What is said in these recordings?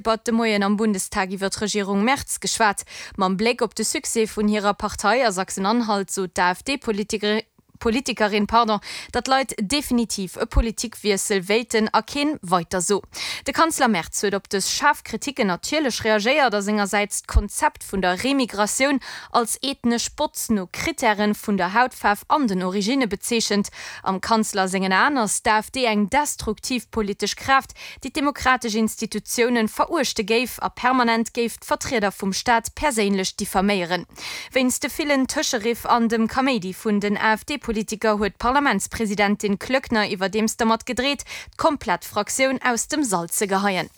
Debatt de Moien am Bundestag iwwer d'Regierung Merz geschwat. Mam Bléck op de Succès vun hirer Partei a Sachsen-Anhalt sot d'AfD-Politikerin, datt d'Leit definitiv e Politikwiessel wéilten a keen Weiter so. De Kanzler Merz huet op dës schaarf Kriticken natierlech reagéiert a sengersäits d'Konzept vun der Remigratioun als ethnesch Botz no Krittären vun der Hautfaarf an den Originne bezeechent. Am Kanzler sengen Aen ass d'AfD eng destruktiv politesch Kraaft, déi d'demokratesch Institutiounen veruechte géif a permanent géif d'Vertrieder vum Staat perséinlech diffaméieren. Wéinst de villen Tëscheriff an dem Kaméidi vun den AfD-Politiker huet d'Parlamentspresidentin Klöckner iwwerdeems dermat gedreet, d'komplett Fraktioun aus dem Sall ze geheien.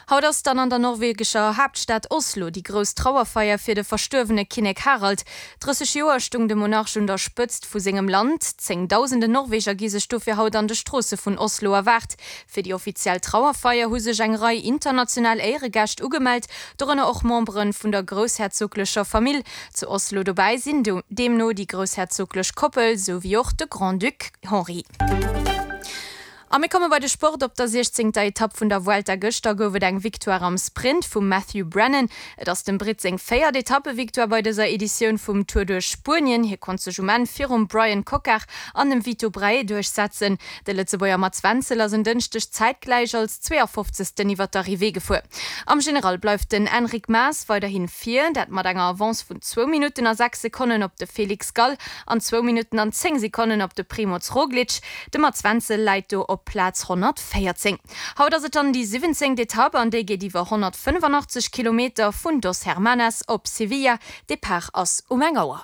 Haut ass dann an der norwegescher Haaptstad Oslo déi grouss Trauerfeier fir de verstuerwene Kinnek Harald. 30 Joer stung de Monarch un der Spëtzt vu sengem Land. Zéngdausende Norweger gi sech dofir haut an de Stroosse vun Oslo erwaart. Fir déi offiziell Trauerfeier hu sech eng Rei international Éieregäscht ugemellt, dorënner och Membere vun der groussherzoglecher Famill. Zu Oslo dobäi sinn deemno déi groussherzoglech Koppel, sou wéi och de Grand-Duc Henri. A mir komme bei de Sport. Op der siechzéngter Etapp vun der Vuelta gëschter gouf et eng Victoire am Sprint vum Matthew Brennan. Et ass dem Britt seng véiert Etappevictoire bei dëser Editioun vum Tour duerch Spuenien. Hie konnt sech um Enn virum Bryan Coquard an dem Vito Braet duerchsetzen. De Lëtzebuerger Mats Wenzel ass en Dënschdeg zäitgläich als 52. iwwer d'Arrivée gefuer. Am General bleift den Enric Mas weiderhi vir, dat mat enger Avance vun zwou Minutten a 6 Sekonnen op de Felix Gall an zwou Minutten an 10 Sekonnen op de Primoz Roglic. De Mats Wenzel läit do op Plaz 114. Haut ass et dann déi 17. Etapp an déi geet iwwer 185 Kilometer vun Dos Hermanas op Sevilla. Depart ass um eng Auer.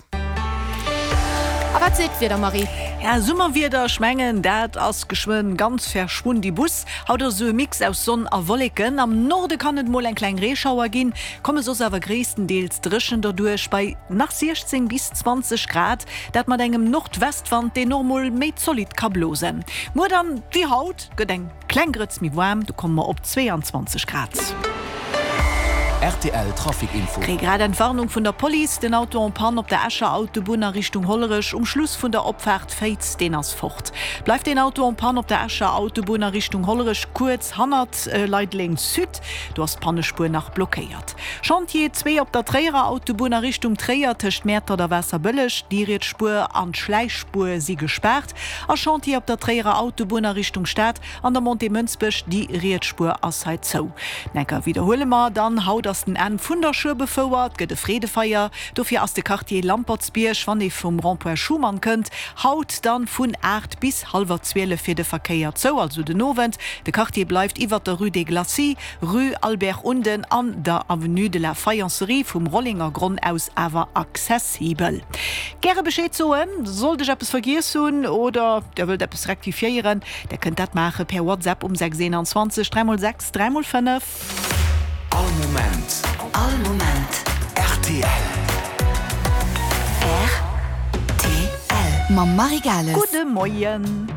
A wat seet d'Wieder, Marie? Ja, Summerwieder, ech mengen dat ass geschwënn ganz verschwundibus. Haut ass esou e Mix aus Sonn a Wolleken. Am Norde kann et mol eng kleng Reeschauer ginn, komme soss awer gréisstendeels dréchen derduerch bei nach 16 bis 20 Grad. Dat mat engem Nordwestwand, deen och mol méi zolidd ka blosen. Muer dann, wéi haut, gëtt eng kleng Grëtz méi waarm, do komme mer op 22 Grad. Rtl Trafic Info. Kréie grad Entwarnung vun der Police, Den Auto en panne op der Escher Autobunn a Richtung Hollerech um Schluss vun der Opfaart Féiz, deen ass fort. Bleift deen Auto en panne op der Escher Autobunn a Richtung Hollerech kuerz hannert Leideleng Sud, do ass d'Pannespuer nach blockéiert. Chantier 2 op der Tréierer Autobunn a Richtung Tréier tëscht Mäertert a Waasserbëlleg, déi riets Spuer an d'Schläichspuer si gespaart. A Chantier op der Tréierer Autobunn a Richtung Stad an der Montée Mënsbech, déi riets Spuer ass hei zou. Necker widderhuele mer dann, haut ass den Enn vun der Schueberfouer, et gëtt e Freedefeier, dofir ass de Quartier Lampertsbierg, wann ee vum Rond-point Schuman kënnt, haut dann vun 8 bis hallwer 12 fir de Verkéier zou, also den Owend. De Quartier bleift iwwert der Rue des Glacis Rue Albert Unden an der Avenue de la Faïencerie vum Rollengergronn aus awer accessibel. Gäre Bescheed soen, sollt ech eppes vergiess hunn oder der wëllt eppes rektifiéieren, der kënnt dat maache per WhatsApp um 6 21 3 x 6 3 x 5. All Moment. All Moment. Rtl. Rtl. Mam Marie Gales. Gudde Moien.